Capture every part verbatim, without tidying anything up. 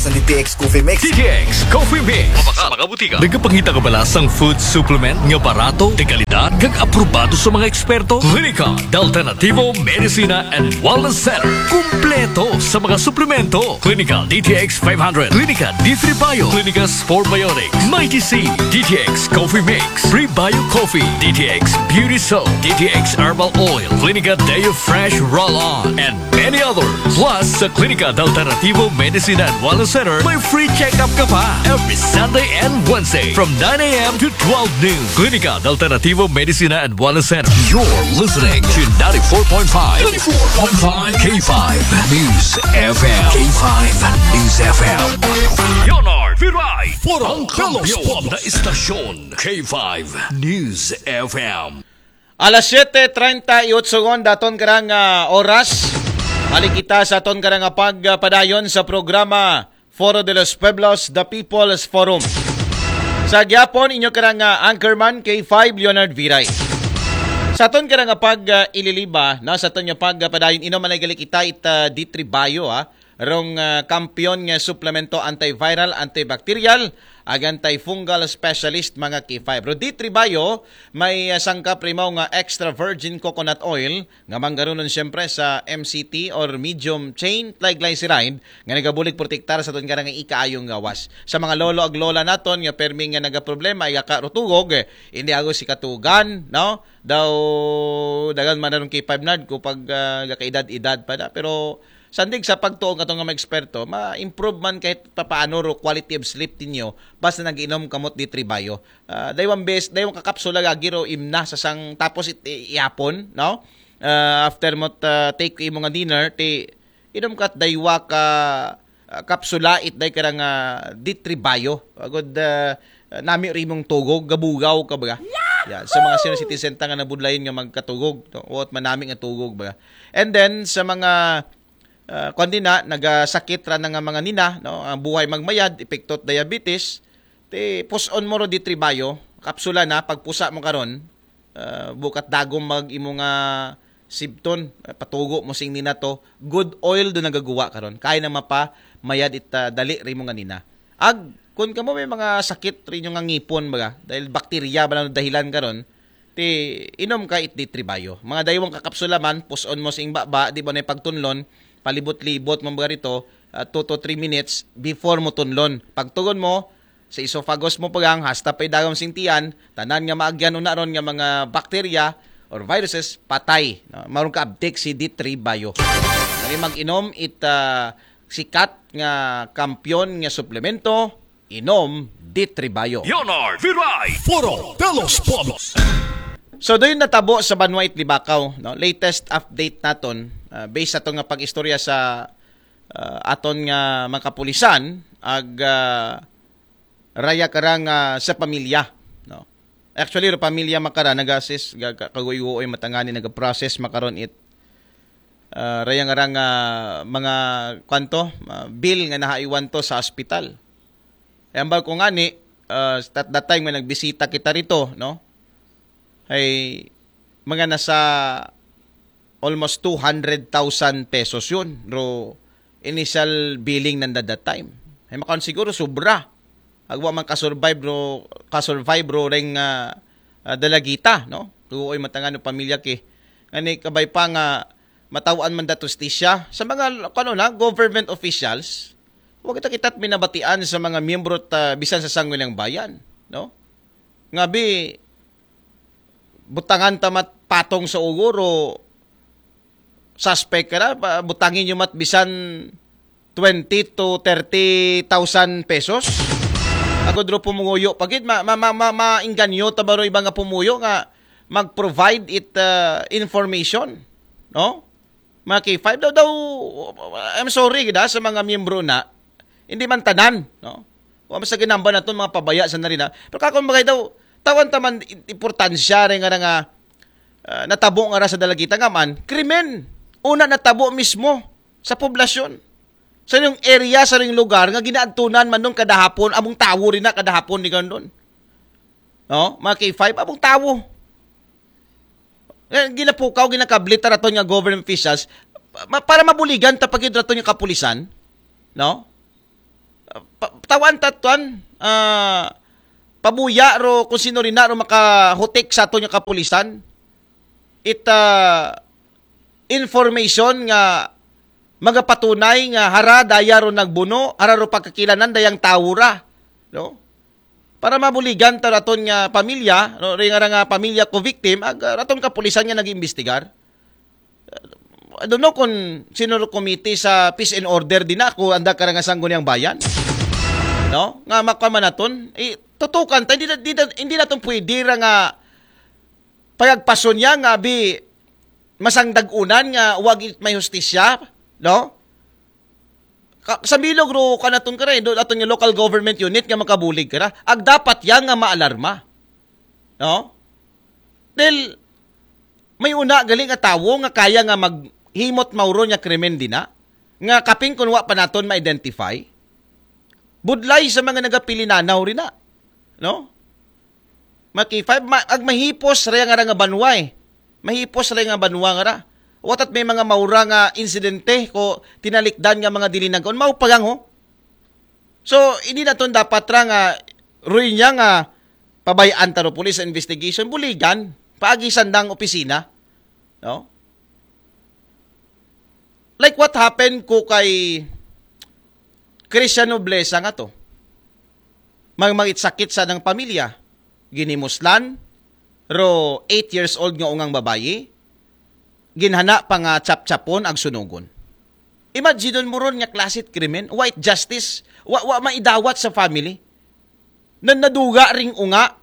Sa D T X Coffee Mix. D T X Coffee Mix. Sa mga butika. Nagapangita ka ba sa food supplement nga barato, de kalidad, kag aprobado sa mga eksperto? Klinika de Alternativo Medicina and Wellness Center. Kumpleto sa mga suplemento. Klinika D T X five hundred, Klinika D three Bio, Klinika Spore Biotics, Mighty C, D T X Coffee Mix, Prebio Coffee, D T X Beauty Soap, D T X Herbal Oil, Klinika Deo Fresh Roll-On, and many others. Plus, sa Klinika de Alternativo Medicina and Wellness Center, may free check-up ka pa every Sunday and Wednesday from nine a.m. to twelve noon. Klinika de Alternativo Medicina and Wellness Center. You're listening to ninety-four point five, ninety-four point five K five News F M. K five News F M. Leonard Viray, Purong Kampiyon na istasyon, K five News F M. Alas siyete treinta y ocho ngon daton karang ah, oras. Balik kita sa aton karang ah, pagpadayon sa programa Foro de los Pueblos, The People's Forum. Sa gyapon, inyo karang ah, anchorman, K five Leonard Viray. Sa aton karang ah, pag ah, ililiba, na sa aton nga pagpadayon, inom man ay gali kita it ah, D three Bio, ha? Rong ah, kampiyon nga suplemento antiviral, antibacterial, ag antifungal specialist mga K five. Ro D three Bio, may ah, sangkap rimaw nga extra virgin coconut oil nga manggarunon siyempre sa M C T or medium chain triglyceride nga nagabulig protektar sa aton karang ikaayong gawas. Sa mga lolo ag lola naton nga permi nga nagaproblema, ay ka rutugog, eh, hindi ako si katugan, no? Daw dagan man ron K five Nard ko pag ah, gakaedad-edad pa na. Pero sandig sa pagtuo nga nga mga eksperto, ma-improve man kahit papaano ro quality of sleep ninyo basta nag-inom kamot D three Bio. Ah, daywang bes, daywang kakapsula gagi ro imna sa sang tapos it, i- ihapon, no? Ah, after mo ta- take imo nga dinner, ti inom ka daywa ka ah, kapsula it day karang ah, D three Bio. Agod ah, nami rimong tugog, gabugaw ka baga. Yan, sa mga senior citizen ta nga nabudlayon nga magkatugog, no? Uot manami nga tugog baga. And then sa mga uh, kundi na nagasakit ra na nga mga nina, no? Ang buhay magmayad, epekto diabetes, ti puson mo ro D three Bio, kapsula na, pagpusa mo karon, ah, bukat dagom mag imo nga sibton, ah, patugo mo sing nina to, good oil do nagaguwa karon. Kaya na mapa mayad it ah, dali rimo nga nina. Ag kun kamo may mga sakit rinyo nga ngipon baga, dahil bakterya ba na dahilan karon, ti inom ka it D three Bio. Mga daywang kakapsula man, puson mo sing baba, di ba na pagtunlon, palibot-libot mo baga rito, ah, two to three minutes before mo tunlon. Pagtugon mo, sa esophagus mo pagang hasta pa idagom sing tiyan, tanan nga maagyan una ron nga mga bakterya or viruses, patay. No? Maroon ka abdik si D three Bio. Dali mag-inom it ah, sikat nga kampiyon nga suplemento, inom D three Bio. Leonard Viray, Foro de los Pueblos. So doon natabo sa Banwa Itlibakaw, no? Latest update naton, ah, based sa aton nga pag-istorya sa ah, aton nga mga kapulisan, ag ah, raya karang ah, sa pamilya, no? Actually, ro pamilya makara nag-assist, ga- ka- kaguy-uoy matangani nag-process makaron it ah, raya nga rang ah, mga kwanto, ah, bill nga nahaiwan to sa ospital. Ay ambal ko ngani, ah, at that time nga nagbisita kita rito, no? Ay mga nasa almost two hundred thousand pesos yun. Ro initial billing nanda that time. Ay makaon siguro sobra. Agwa man kasurvive ro, kasurvive ro reng ah, ah, dalagita, no? Tuoy matangan ng pamilya ki. Ngani kabay pa nga matawan man datos ti siya sa mga kano na government officials. Wa kita kita't minabatian sa mga miyembro ta bisan sa sangguniang bayan, no? Ngabi butangan ta mat patong sa ugo ro suspect ka na, pa- butangin nyo mat bisan twenty to thirty thousand pesos. Ako dro pumunguyo pagid, ma, ma, ma, ma, mainganyo ta baro iba nga pumuyo nga mag-provide it uh, information, no? Mga K five daw daw, I'm sorry gid ah, sa mga miyembro na hindi man tanan, no? Wa man sa ginamba naton mga pabaya sa narina. Pero kakon bagay daw, tawan ta man i- importansya rin nga nga ah, natabo nga ra sa dalagita nga man krimen. Una natabo mismo sa poblasyon. Sa yung area, sa yung lugar nga ginaadtunan man nung kadahapon, among tawo rin na kadahapon ni Gandon. No? Mga K five, among tawo. Eh, ginapukaw, ginakablit raton nga government officials ma- para mabuligan ta pagid raton nga kapulisan, no? Pa, tawan tatuan, ah, pabuya ro kung sino rin na ro makahutik sa aton nga kapulisan. It, ah, information nga magapatunay nga hara daya ro nagbuno, hara ro pagkakilanan dayang tawo ra, no? Para mabuligan ta raton nga pamilya, no? Ring ara nga pamilya ko victim, ag ah, raton kapulisan nga nag-imbestigar. I don't know kung sino ro komite sa peace and order din ako, anda ka ra nga sangguniang bayan. No? Nga makwa man naton, eh, tutukan ta, hindi, na- hindi, na- hindi naton pwede ra nga payagpason niya nga bi masang dagunan nga wag it may hustisya, no? Ka, sa bilog ro ka naton kare, do aton nga local government unit nga makabulig kara. Ag dapat yang nga maalarma. No? Dahil may una gali nga tawo nga kaya nga maghimot mauron nga krimen dina, nga kaping kun wa pa naton ma-identify. Budlay sa mga nagapilinanaw rin na. No? Mga K five, ma- ag mahipos ra nga ra nga banwa eh. Mahipos ra nga banwa nga ra. Watat may mga maura nga insidente ko tinalikdan nga mga dili nagkaon. Mao pa gang ho. So, hindi naton dapat ra nga ruin niya nga pabayaan taro police investigation, buligan, paagi sandang opisina. No? Like what happened ko kay Christian Noblesa nga to. Mang mangitsakit sa ng pamilya. Ginimuslan, ro eight years old nga ungang babayi, ginhana pa nga chap-chapon ag sunugon. Imagine mo ron nga klasit krimen, wa it justice, wa, wa maidawat sa family. Na naduga ring unga,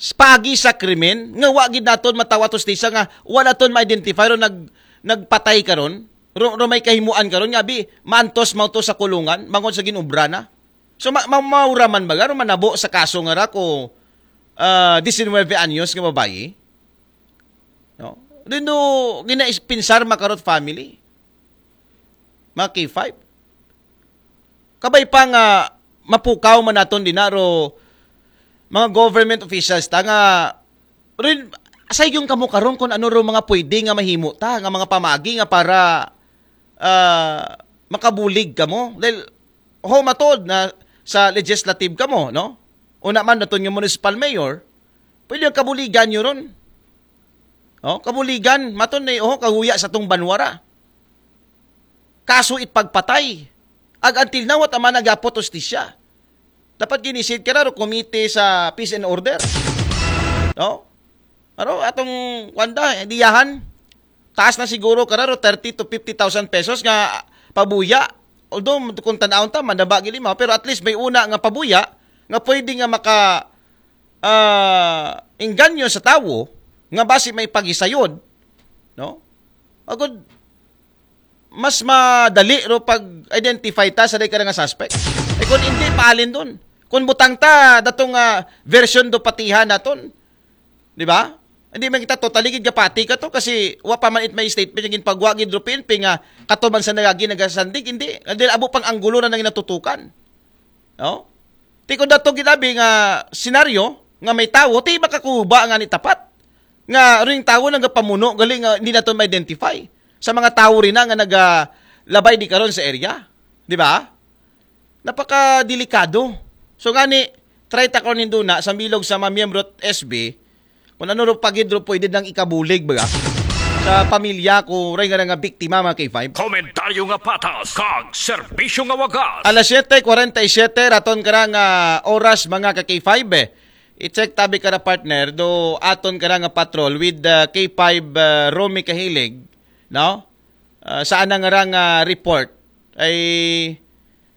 spagi sa krimen, nga wa gid naton matawat hustisya nga wala ton ma-identify ro nag, nagpatay karon, ro, ro may kahimuan karon, nga bi, mantos mauto sa kulungan, mangon sa ginubra na. So, ma, ma, maura man baga, ro manabo sa kaso nga ra ko, ah, diecinueve anyos nga babayi. No? Rin do, ginaispinsar makarot family. Mga K five. Kabay pa nga mapukaw man naton dinaro mga government officials ta nga rin, sa yung kamo karon kung ano ro mga pwede nga mahimo ta, nga mga pamagi nga para ah, makabulig kamo. Dahil ho matod na sa legislative kamo, no? Una man naton nga municipal mayor, pwede ang kabuligan nyo ron. Oh, kabuligan, maton na oh, kahuya sa tong banwara. Kaso it pagpatay. Ag until now, at ama nagyapot hustisya. Dapat ginisid ka na ro komite sa peace and order. No? Aro, atong, kwanda, diyahan. Taas na siguro ka ro, thirty to fifty thousand pesos nga pabuya. Although, kung tanawon ta, mandaba gili mo, pero at least may una nga pabuya nga pwede nga maka ah, engganyo sa tawo nga basi may pagisayod, no? Agud, mas madali ro pag-identify ta sa day ka nga suspect. Eh kung hindi, paalin dun. Kung butang ta, datong ah, version do patihan naton. Di ba? Hindi man kita totally gid kapati ka to kasi wa pa man it may statement yung ginpagwa gid ro P N P nga katuban sa nagagi nagasandig, hindi. Dahil abo pang anggulo na nang natutukan. No? Ti kung dato ginabi nga senaryo nga may tawo, ti makakuba nga ni tapat. Nga ring tawo nagapamuno, galing nga hindi nato ma-identify. Sa mga tawo rin na nga nagalabay di karon sa area. Di ba? Napakadelikado. So nga ni, try ta karon ninduna sa bilog sa mga miyembro at S B, kung ano ro pagid ro pwede nang ikabulig, baga? Sa pamilya ko, ray nga nga biktima, mga K five. Komentaryo nga patas, kag serbisyo nga wagas. Alas siyete kwarenta y siyete, raton ka nga oras, mga ka K five, eh. I-check tabi ka ra, partner, do aton ka nga patrol with uh, K five uh, Romy Kahilig, no? Uh, saan nga ra nga report ay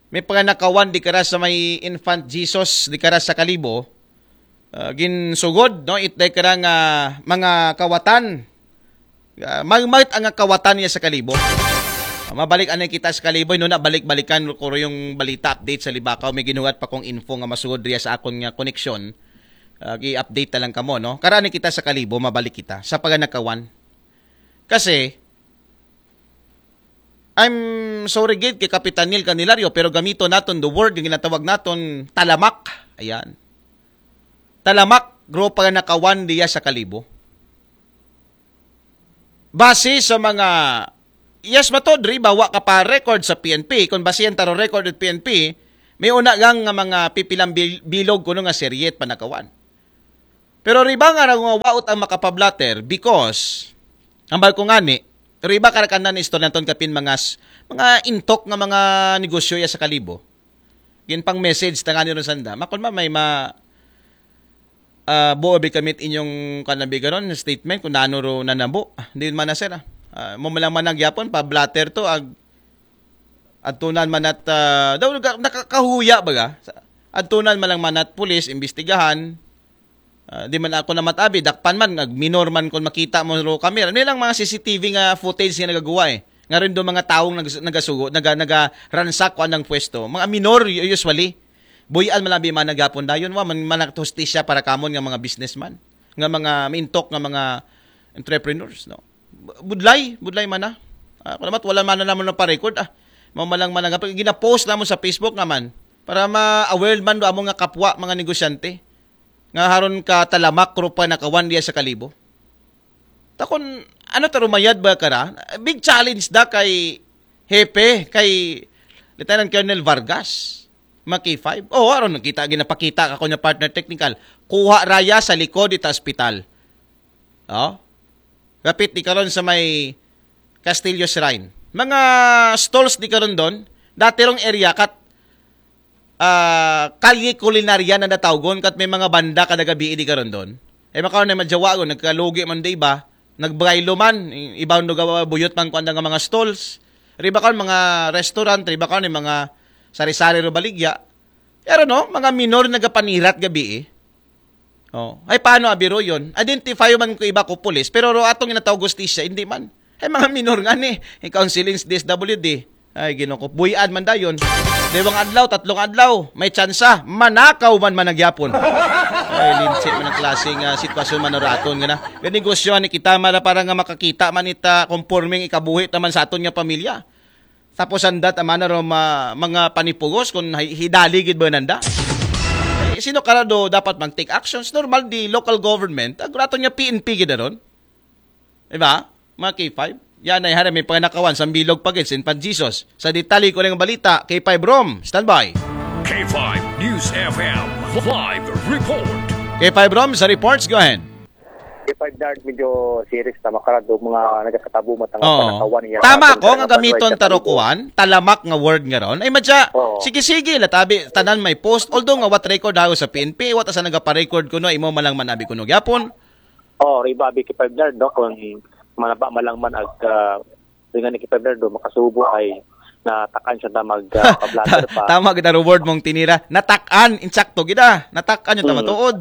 may panganakawan di kara sa may Infant Jesus di kara sa Kalibo. Ah, ginsugod, no, itday kara nga mga kawatan. Ah, magmait ang kawatan niya sa Kalibo. Ah, mabalik anay kita sa Kalibo, no, na balik-balikan ko yung balita update sa Libakaw. May ginuhat pa kong info nga masugod riya sa akon nga koneksyon. Ah, i-update na lang kamo, no? Karani kita sa Kalibo, mabalik kita sa paganakawan. Kasi, I'm sorry gid kay Kapitan Neil Candelario, pero gamito naton the word nga ginatawag naton talamak. Ayan. Talamak, grupo nga nakawan diya sa Kalibo. Base sa mga yes, matod, riba, wa ka pa record sa P N P. Kung basihan taro record at P N P, may una gang nga mga pipilang bil- bilog kuno nga seryet panakawan. Pero riba nga raw nga waot ang makapablatter because, ang bal ko ngani, riba karakanan istorya ton kapin mga s- mga intok nga mga negosyo ya sa Kalibo. Gin pang message tangani ron sanda. Makon ma may ma ah, buo bi kamit inyong kanabigaron statement kung nano ro nanabo. Ah, Hindi man na sir. Ah. Ah, mo malang manang gyapon pa blatter to ag adtunan man at ah, daw naka- nakakahuya baga. Sa- Adtunan man lang man at pulis imbestigahan. Ah, di man ako na matabi, dakpan man, nag minor man kung makita mo ro camera. Nilang mga C C T V nga footage nga nagagawa eh. Nga rin do mga taong nag, nagasugo, naga, naga ransak ko anang pwesto. Mga minor u- usually. Buyan man lang bi man gapon dayon wa man manak hustisya para kamon nga mga businessman, nga mga mintok nga mga entrepreneurs, no. Budlay, budlay man na. Ah, kalamat wala man na naman pa record ah. Mao man lang man nga ginapost namo sa Facebook naman para ma-aware man do amo nga kapwa mga negosyante nga haron ka talamak ro pa nakawan diya sa Kalibo. Takon ano ta rumayad ba kara? Big challenge da kay Hepe, kay Lieutenant Colonel Vargas, mga K five. Oh, aron nakita ginapakita ka ko niya partner technical. Kuha raya sa likod ita ospital. Oh. Kapit di karon sa may Castillo Shrine. Mga stalls di karon doon. Dati rong area kat ah, kalye kulinarya na natawgon kat may mga banda kada gabi di karon doon. Eh makaon na madyawa ko, nagkalugi man di iba, nagbaylo man, i- iba ndo gawa buyot man kuan nga mga stalls. Riba karon mga restaurant, riba karon yung mga sari-sari ro baligya. Pero no, mga minor nagapanirat gabi eh. Oh, ay paano abiro yon? Identify man ko iba ko pulis, pero ro atong ginatawag hustisya, hindi man. Ay mga minor nga ni, yung counseling sa D S W D. Ay ginoko, buyan man dayon. Dewang adlaw, tatlong adlaw, may tsansa, manakaw man managyapon. Ay linsi man ang klase nga sitwasyon man raton nga na. Ganegosyo ni kita mara para nga makakita man ita conforming ikabuhi naman sa aton nga pamilya. Tapos ang dat amana ro ma, mga panipugos kung hi- hidali gid ba nanda. Eh, sino karado dapat mag-take actions? Normal di local government, ang rato niya P N P gid ron. Diba? Mga K five. Yan ay hari may panganakawan sa bilog pagid sin pan Jesus. Sa detalye ko ng balita, K five Rom, standby. K five News F M live report. K five Rom sa reports, go ahead. K five Nard, medyo serious na makarado mga nagkakatabo matang Oo. panakawan niya. Tama Atong ko nga mga gamiton sa taro Kalibo. Kuan, talamak nga word nga ron. Ay madya, Oo. sige-sige, latabi, tanan may post. Although nga what record ako sa P N P, what asa nagapa-record kuno, imo malang manabi kuno gyapon. Oh, riba abi K five Nard, no? Kung manaba malang man ag uh, ringan ni K five Nard, do, makasubo ay natakan siya na mag uh, pablatter pa. Tama gid ang reward mong tinira. Natakan, insakto gid ah. Natakan yung Hmm. tamatuod.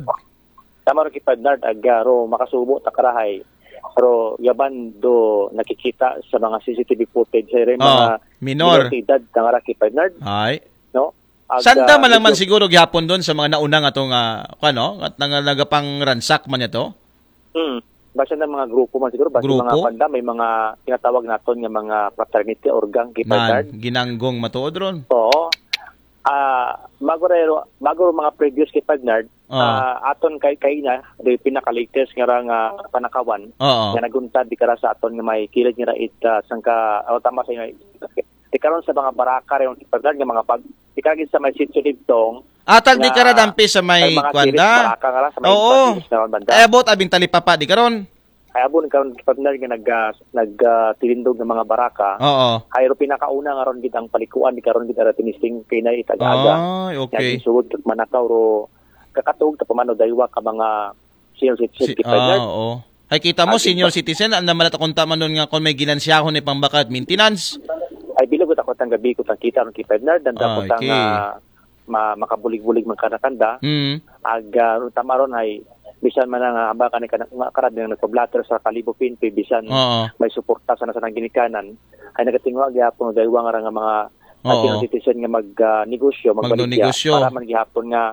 Tama rin K five Nard, ag uh, ro makasubo takarahay. Pero yaban do nakikita sa mga C C T V footage ay rin Oh, mga minor. Edad tangara K five Nard, Ay. No? Ag, Sanda ah, man lang man medyo- siguro gihapon doon sa mga nauna nga itong, ah, ano, at nang nagapang ransak man ito? Hmm. Basta ng mga grupo man siguro, basta Grupo? mga panda, may mga tinatawag naton nga mga fraternity or gang, K five Nard. Ginanggong matuod ron. Oo. Ah, bago rin, bago rin mga previous K five Nard, Ah. ah, aton kay kay na, the pinaka-latest nga ra nga panakawan, Oo. nga naguntad di kara sa aton nga may kilid nga ra it, ah, sangka, oh, tama sa inyo, di karon sa mga baraka rin K five Nard nga mga pag, di karon sa may sitio Dibtong, Atag di nga kara dampi sa may mga Kwanda. kilid baraka nga ra sa may Oo. Patis na banda. Eh, abot abing talipapa di karon. Ay, abon karon K five Nard nga nag, ah, nag, ah, tilindog ng mga baraka. Oo. Ay, ro pinakauna nga ron gid ang palikuan, di karon gid ara tinisting kay na itag-aga. Ay, okay. Naging sulod kag manakaw ro kakatog ta pamano daywa ka mga senior citizen Si, K five Nard. Ah, oo. Ay, kita mo, Agi senior pa. Citizen, ang naman ako kunta man doon nga kung may ginansyahon ni pambaka at maintenance. Ay, bilog ko takot ang gabi ko tang kita ron K five Nard, ang Ah, tapos ang okay. ah, ma, makabulig-bulig man kanakanda. Mm. Ag ah, tama ron ay bisan man ang ah, hamba ka ni kana nga karad nga nagpa-blotter sa Kalibo P N P, bisan Oo. may suporta sa nasa ginikanan, ay nagatingwa gyapon daywa nga ra nga mga Oo. senior citizen nga mag ah, negosyo, magbaligya Magnonegosyo. Para man gihapon nga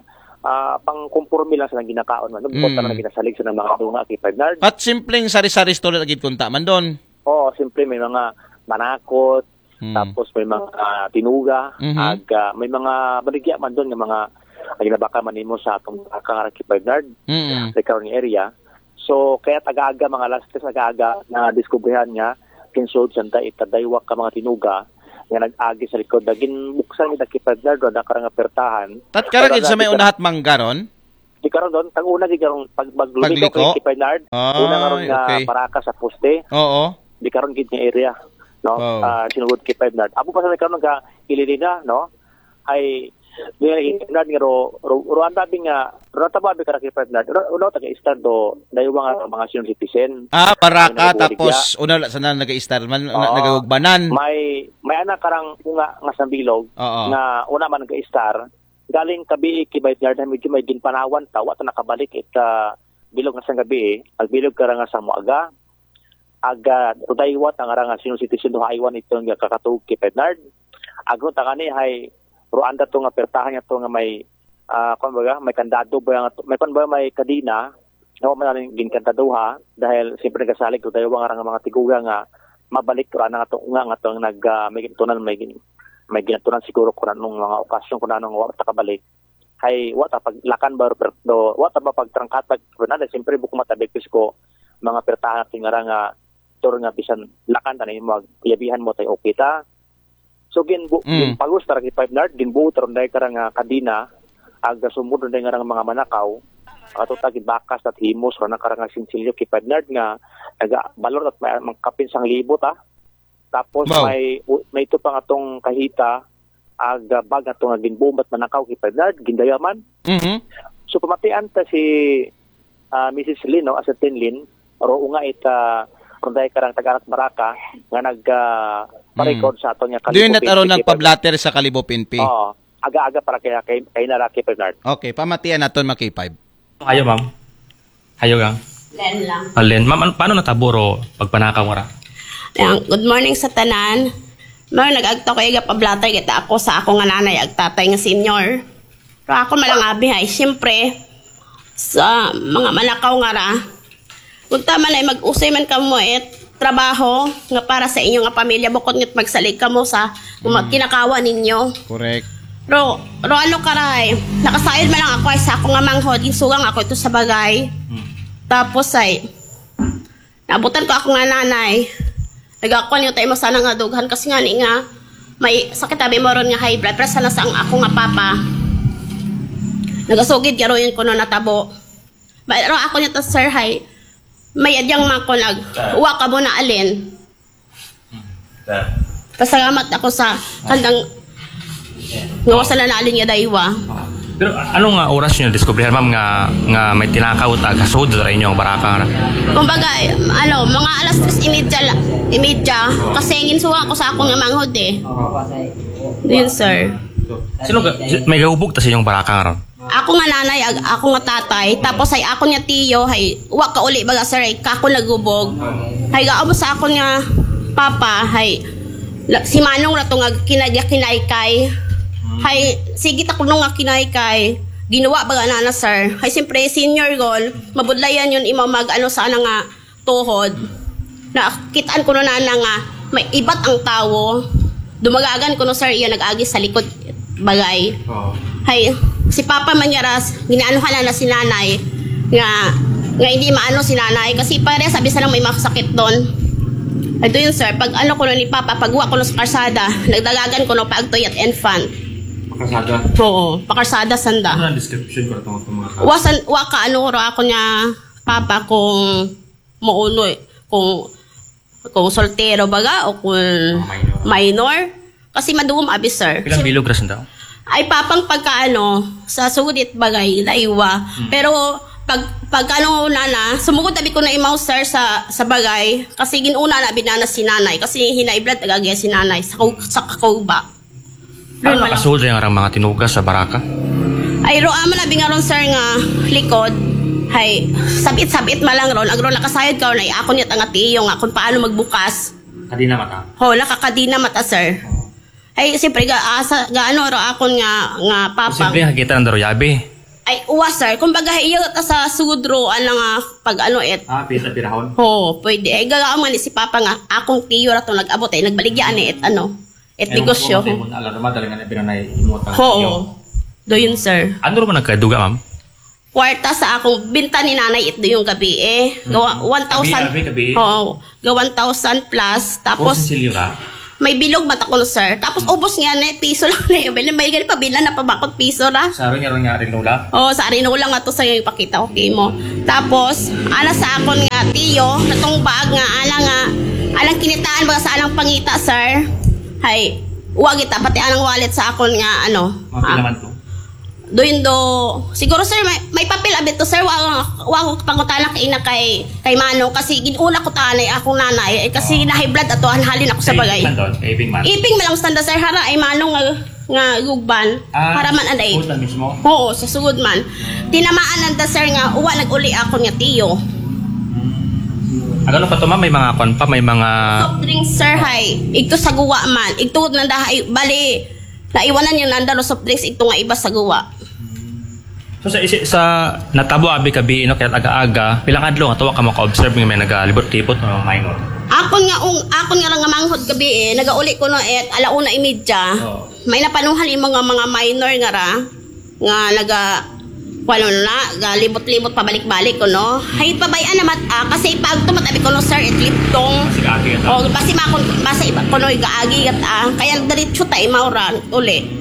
ah, pang kumporme lang sa nang ginakaon man, no? Mm. Bukod na ginasalig sa nang mga dunga K five Nard. At simpleng sari-sari store lagi kunta man doon. Oo, simple, may mga manakot, Hmm. tapos may mga ah, tinuga, Mhm. ag ah, may mga baligya man doon nga mga ang ginabaka man nimo sa atong baraka nga K five Nard, Mm. sa karon nga area. So, kaya taga-aga, mga alas tres taga-aga na diskubrihan nga kin sud sanda ita daywa ka mga tinuga nga nag-agi sa likod. Ginbuksan nila kay partner, do na karang apertahan. Tatkara Pero gid sa may na- unahat manggaron? Di karon don, tang una gid karon pag maglumigaw Pagliko? kay Kipay Nard. Una karon Ay, nga okay. Baraka sa poste. Oo. Di karon gid nga area, no? Wow. Ah, sinugod kay Kipay Nard. Amo pa sa karon nga ililina, no? Ay di na Kipay Nard nga ro ro ro ang tabi nga ro tababi ka na Kipay Nard. Ro, ro taga Istar do daywa nga mga senior citizen. Ah, Baraka, Ang nagbubulig tapos una la sana nag-istar man, na, Oo. nagagugbanan. May may anak karang unga nga sambilog Oo. nga una man nag-istar. Galing kabi Kipay Nard na medyo may ginpanawan ta, wa ta nakabalik ita bilog nga sang gabi. Agbilog karang nga sa muaga. Aga, rudaywa ta nga rang senior citizen do haywan ito nga kakatug kay Bernard. Agro ta kani hay ruanda to nga pertahan niya to nga may ah, kung baga, may kandado ba nga to, may kung ba may kadina, nga wa man namin ginkandaduha, dahil siyempre nagasalig rudaywa nga rang mga tiguga nga mabalik rana nga to nga nga to nag ah, may ginatunan may gin, may ginatunan siguro kung anong mga okasyon kung anong wa ta kabalik. Hay wa ta paglakan ba pero do wa ta ba pagtrangkatag pero na siyempre buko matabik ko mga pertahan natin nga rang nga tur nga bisan lakan ta na yung magyabihan mo tayo okay ta. So gin Mm. ginpagos ta ra kay Five Nard, ginbuo ta ron dahil karang ah, kadina, ag sumod ron dahil nga mga manakaw, ato ta gibakas at himos ron ang karang sinsilyo kay Five Nard nga naga balor at may mga kapin sang libo ta. Tapos Wow. may u- may ito pa nga tong kahita, ag ah, bag nga to nga ginbuo at manakaw kay Five Nard, gindayaman. Mhm. So pamatian ta si ah, Missus Lin, no, as a Tin Lin, ro nga ita kung dahil karang taga-anak Baraka nga nag ah, pa-record sa ato niya Doon na taro P N P. Nagpa-blotter sa Kalibo P N P. Oo. Aga-aga para kaya kay kay Naraki Bernard. Okay, pamatian naton mga K five. Ayo, ma'am. Ayo, gang. Len lang. Alen, ma'am, an- paano natabo ro pagpanakaw nga ra? Yan, good morning sa tanan. Mao nag-agto ko iga pablatay kita ako sa ako nga nanay ag tatay nga senior. Pero ako malang abi hay, siyempre, sa mga manakaw nga ra. Kung tama na mag-usay man kamo it trabaho nga para sa inyo nga pamilya bukod ngat magsalig kamo sa mga kinakawa ninyo. Correct. Ro, ro ano karay, nakasayod man lang ako ay sa ako nga manghod, ginsugang ako ito sa bagay. Tapos ay, naabutan ko ako nga nanay. Nagakuan yung tayo mo sana nga dughan kasi nga ni nga may sakit abi mo ron nga high blood pressure na sa ang ako nga papa. Nagasugid nga ron yun kuno natabo. Pero ako nito sir hay may adyang mako nag uwa ka mo na alin. Pasalamat ako sa kandang nga wasa na naalin nga daywa. Pero ano nga oras nyo diskubrihan, ma'am, nga nga may tinakaw at agasod sa inyong baraka? Kumbaga, ano, mga alas tres imedya, la- imedya, kasi ginsuwa ko sa akong manghod eh. Yun, sir. Sino ga- may gahubog ta sa inyong baraka nga ron? Ako nga nanay, ag- ako nga tatay, tapos ay ako nga tiyo, hay wa ka uli baga sir, ay kako nagubog. Hay gaamo sa ako nga papa, hay la- si Manong ra to nga kinagya kinaykay. Hay sige ta kuno nga kinaykay. Ginawa baga na na sir. Hay siyempre senior gol, mabudlayan yun imaw mag ano sana nga tuhod. Nakitaan ko na na nga may ibat ang tawo. Dumagagan ko no sir iya nag-agi sa likod bagay. Oo. Hay, si Papa man nga ras, ginaanuhan na, na si Nanay nga nga hindi maano si Nanay kasi pare sabi sa lang may makasakit doon. Ay doon yun sir, pag ano ko ni Papa, pag wa ko sa karsada, nagdagagan ko no pag tuyat infant. Makasada. Oo, pakarsada sanda. Ano ang description ko itong mga tao? Wasan, wa ka ano ro ako niya Papa kung mauno eh, kung kung soltero baga o kung minor. Kasi maduwam abi sir. Ilang bilog ras daw? Ay papang pagkaano sa sugod it bagay laiwa. Pero pag pagkano nana, sumugod abi ko na imaw sir sa sa bagay kasi ginuna na binana si nanay kasi hinay blood agagya si nanay sa kau- sa kakauba. Ano nakasold yung mga tinugas sa baraka? Ay ro amo na bingaron sir nga likod. Hay sabit-sabit malang ron agro nakasayod ka na ako niya tanga tiyo nga kung paano magbukas. Kadina mata. Ho, nakakadina mata sir. Ay siyempre ga asa gaano ro akon nga nga papa. Simple nga kita ng daroyabi. Ay uwa sir, kumbaga iyo ta sa sugod ro ano nga pag ano et. Ah, pita pirahon. Ho, pwede. Ay gagawa man ni si papa nga akong tiyo ra to nag-abot ay nagbaligya ani et ano. Et negosyo. Alam mo, talaga na pinanay imutang. Ho. Do yun sir. Ano naman nagkaduga, ma'am? kwarta sa akong binta ni nanay ito yung gabi eh. Gawa one thousand. Gabi, gabi, gabi. Oo. Ga one thousand plus. Tapos, Tapos, sinsilyo ka? May bilog mata ko, sir. Tapos, ubos nga na, piso lang na yung bilhin. May gani pa, bilan na pabakot piso na. Sa aron nga, aron nga, rin lola? Oh, sa Arinola nga to sa yung ipakita ko kimo. Tapos, ala sa akon nga tiyo, natong bag nga, ala nga, alang kinitaan ba sa alang pangita, sir? Hay, wa kita, pati alang wallet sa akon nga, ano. Mga pila man to? Doon do, siguro sir, may, may papel abit to sir, wa, wa ko pangutana kay ina kay, kay Manong kasi ginuna ko tanay akong nanay, eh, kasi na high blood ato, halin ako sa bagay. Iping man doon, iping man. Iping man lang sanda sir, hara ay Manong nga, nga gugban, Ah, hara man anay. Sugod na mismo? Oo, sa sugod man. Tinamaan nanda sir nga, uwa nag-uli ako nga tiyo. Ang ano pa to, ma'am? May mga kwan pa, may mga... Soft drinks sir, hay. Igto sa guwa man. Igto nanda, hay, bali, naiwanan yung nanda no soft drinks, igto nga iba sa guwa. So, sa, isi- sa natabo abi kabi, no, kaya aga-aga, pilang adlaw nga tuwa ka maka-observe nga may nagalibot-libot, mga minor? Akon nga ung, akon nga lang nga manghod gabi eh, nagauli ko no eh, alauna imidya. Oo. May napanuhan yung mga, mga minor nga ra, nga naga, wala na, galibot-libot pabalik-balik ko no. Hay pabay-an naman, ah, kasi pag tumat abi ko no sir, itliptong. Sige, ate, ate. O, basi makon, basi iba ko no, igaagi gat ah. Kaya diretso tayo mauran, uli.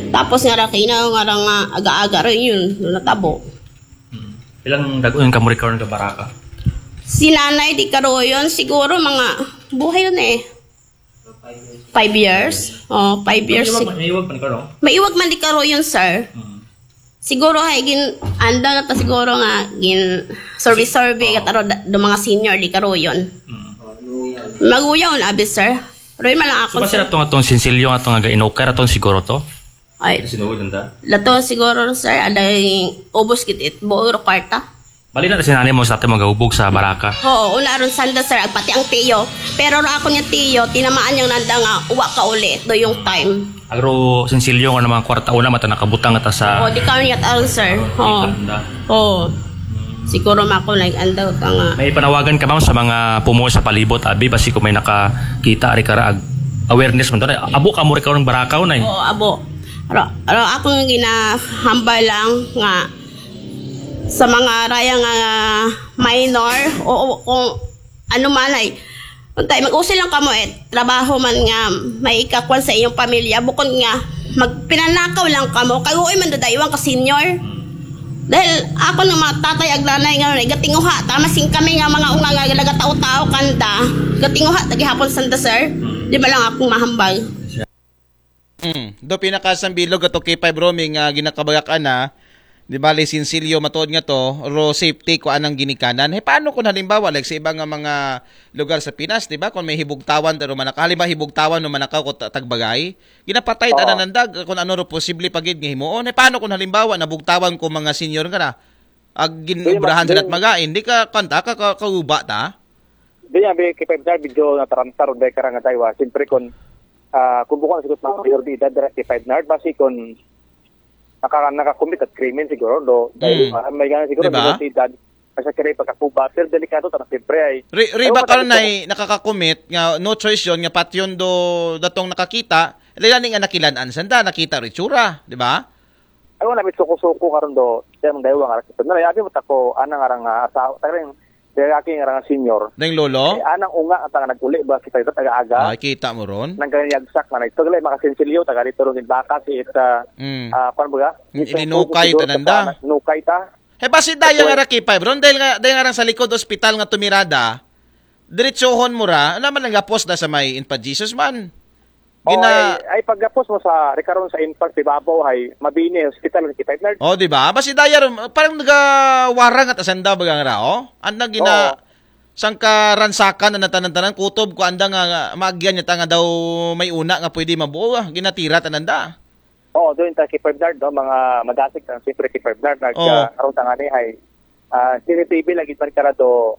Tapos nga ra, kina nga ra nga aga-aga rin yun, no, natabo. Pilang dagon ka mo rin karon ka baraka? Si nanay di karoyon, siguro mga, buhay yun eh. Five years? Oh, five years. May iwag, may iwag pa ni karon? May iwag man di karoyon, sir. Mm. Siguro hay gin anda na ta siguro nga gin survey survey ka taro da- do mga senior di karoyon. Mm. Maguyaw na abi, sir. Roy man lang So, ako, kasi sir. Atong atong sinsilyo, atong nga inukar, atong siguro to? Ay, Sinuod nanda? lato siguro, sir, aday ubos gid it buo ro kwarta. Bali na si nanay mo sa ating magahubog sa baraka. Oo, una ron sanda, sir, ag pati ang tiyo. Pero ro ako niya tiyo, tinamaan niyang nanda nga uwa ka uli do yung time. Agro sinsilyo nga naman kwarta una mata nakabutang ata sa... O, di ka niya taon, sir. Oo. Anda. Oo. Siguro mako nag-andaw ka nga. May panawagan ka, ma'am, sa mga pumuo sa palibot, abi, basi kung may nakakita, ari ka ra, ag- awareness mo. Abo ka mo rin karon barakaw na eh. Oo, abo. Ro, ro ako nga ginahambal lang nga sa mga raya nga minor, o, o kung ano man ay, untay, mag-usil lang kamo eh, trabaho man nga may ikakwan sa inyong pamilya, bukod nga magpinanakaw lang kamo, kaguoy man dadaywan ka senior. Dahil ako ng mga tatay ag nanay nga gatinguha, tamasing kami nga mga unga nga nagatao-tao kanda, gatinguha, tagihapon sanda sir, di ba lang akong mahambal. Mm. Do pinakasambilog ato kay Five Roaming nga ginakabagakan na, di bali sinsilyo matuod nga to, ro safety ko anang ginikanan. Hey, paano kung halimbawa, like sa iba nga mga lugar sa Pinas, di ba, kung may hibugtawan, pero manaka, halimbawa hibugtawan no manakaw ko ta- tagbagay, ginapatay Oo. tanan nandag, kung ano ro posible pagid nga himuon. Hey, paano kung halimbawa nabugtawan ko mga senior nga na, ag ginobrahan Di- sa magain, di ka kanta, ka, ka, kauba ta? Di nga, bi- kay Five Nard, medyo nataranta ron dahil karang nga daywa. Siyempre, kung ah, kung bukan sa mga mayor di edad, dara kay Five Nard, basi kung naka, nakakumit at krimen siguro, do, dahil Mm. ah, may gana siguro, Diba? Di sa edad, kasi kaya pagkakuba, pero delikado, ta, siyempre ay, Ri, ri Ewan ba ko, karon sabi na nakakakumit nga no choice yon nga patyon do datong nakakita, lalo ni nga nakilan-an sanda, nakita ri tsura, di ba? Ay, wala, may suko-suko karon do, siya mong daywa nga, rakit na, abi mo tako, anang arang, ah, asawa, taring, dayaki nga arang senior. Ding lolo, Eh, anang unga, at ang nag-uli ba, kita ito, taga-aga, ah, kita mo ron. nang ganyan yagsak na, ito, lay, makasinsilyo, taga dito, rin, baka, si, ita, Mm. ah, kwan ba, Ininukay, tananda. Nukay ta. Eh, basi daya Oy. Nga ra kay Five ron, dahil nga, dahil nga rang sa likod ospital nga tumirada, diretsohon mo ra, naman lang gapos na sa may Infant Jesus man. Oh, Gina- ay, ay, pagkapos mo sa, rekaron sa Infant, si Babaw, ay, mabini, hospital, si Five Nard. Oh, di ba? Basi daya ron, parang nagawarang at asanda bagang ra, oh? Ang nagina, Oo. sangka ransakan na tanan-tanan, kutob ko anda nga, nga maagyan niya ta nga daw may una nga pwede mabuo, ah. Ginatira tananda. Oo, doon tayo kay Five Nard, no? Mga madasig, ang siyempre kay Five Nard, nag, Oo. ah, karon sa ngani, ay, ah, C C T V lagi man karado,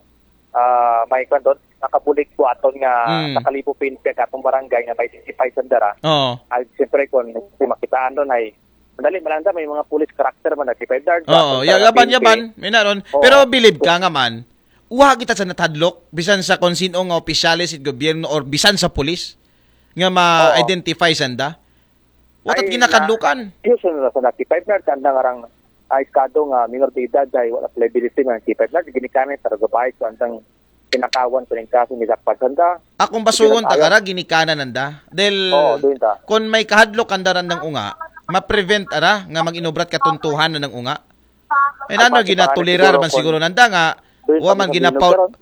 ah, may kwan doon, nakabulig ko aton nga Mm. nakalibo pinpek atong barangay nga may sixty-five sandara. Oh. Ay, siyempre, kung si makitaan doon ay, madali malanda, may mga police character man, nag-five Nard. Oo, Atong ya- sa yaban, P N P. yaban. May naron. Oo. Pero bilib ka nga man, uha kita sa natadlok, bisan sa kung sino nga opisyales sa gobyerno or bisan sa pulis, nga ma-identify sanda. Watat Ay, ginakadlukan. Yun, sa, sa naki-five Nard, kanda nga rang, Ay, kado nga minor de edad, ay wala pala bilis din ang K five na, ginikanan sa ragabay, so andang pinakawan ko ng kaso, nilakpasan da. Akong basugon ta kara, ginikanan nanda. Del, Oo, doon ta. Kung may kahadlok kanda randang unga, ma-prevent ara nga mag-inubrat katuntuhan na ng unga. Ay, Ay, nano, pati ginatolerar siguro man siguro kung- nanda nga, Doon wa sa man mga ginapaw, binugaran.